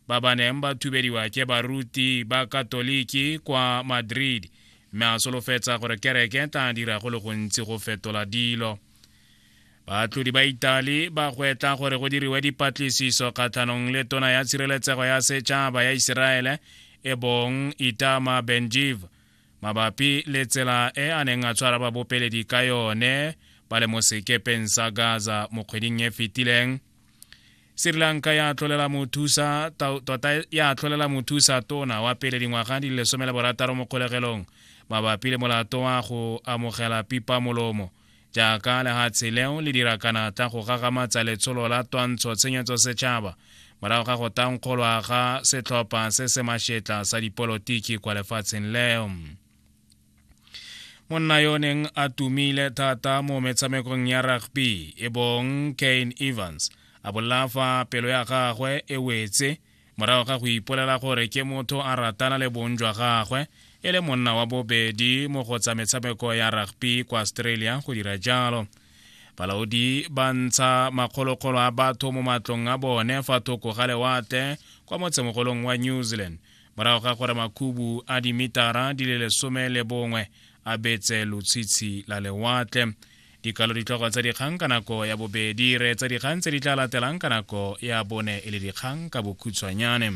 ba ba neng ba thubediwa ke baruti ba Katoliki kwa Madrid, mme a solofetsa gore kereke tla dira go le gontsi go fetola dilo. Baatlhodi ba Italy ba gwetla gore go diriwe dipatlisiso kgatlhanong le tona ya tshireletsego ya setšhaba ya Iseraele e bong Itamar Ben-Gvir mabapi le tsela e a neng a tshwara babopeledi ka yone ba le mo sekepeng sa Gaza mo kgweding e fetileng. Sri Lanka ya tlolela mothusa tota ya tlolela mothusa tona wa pele dingwaga di le 16 mo kgolegelong mabapi le molato wa go amogela pipa molomo jaaka lehatshe leo le dira kanatla go gagamatsa letsholo la twantsho tshenyetso setšhaba morago ga go tankgolwa ga setlhopha se se mashetla sa dipolotiki kwa lefatsheng leo. Monna yo neng a tumile thata mo metshamekong ya rugby e bong Kane Evans a bolela fa pelo ya gagwe e wetse morago ga go ipolela gore ke motho a ratana le bong jwa gagwe e le monna wa bobedi mo go tsa metshameko ya rugby kwa Australia go dira jalo. Balaodi ba ntsha makgolokgolo a batho mo matlong a bone fa thoko ga lewatle kwa motsemogolong wa New Zealand morago ga gore makhubu a dimitara di le 11 a betse lotshitshi la lewatle. Dikalo ditlhogo tsa dikgang ka nako ya bobedi, reetsa dikgang tse di tla latelang ka nako ya bone e le dikgang ka bokhutshwanyane.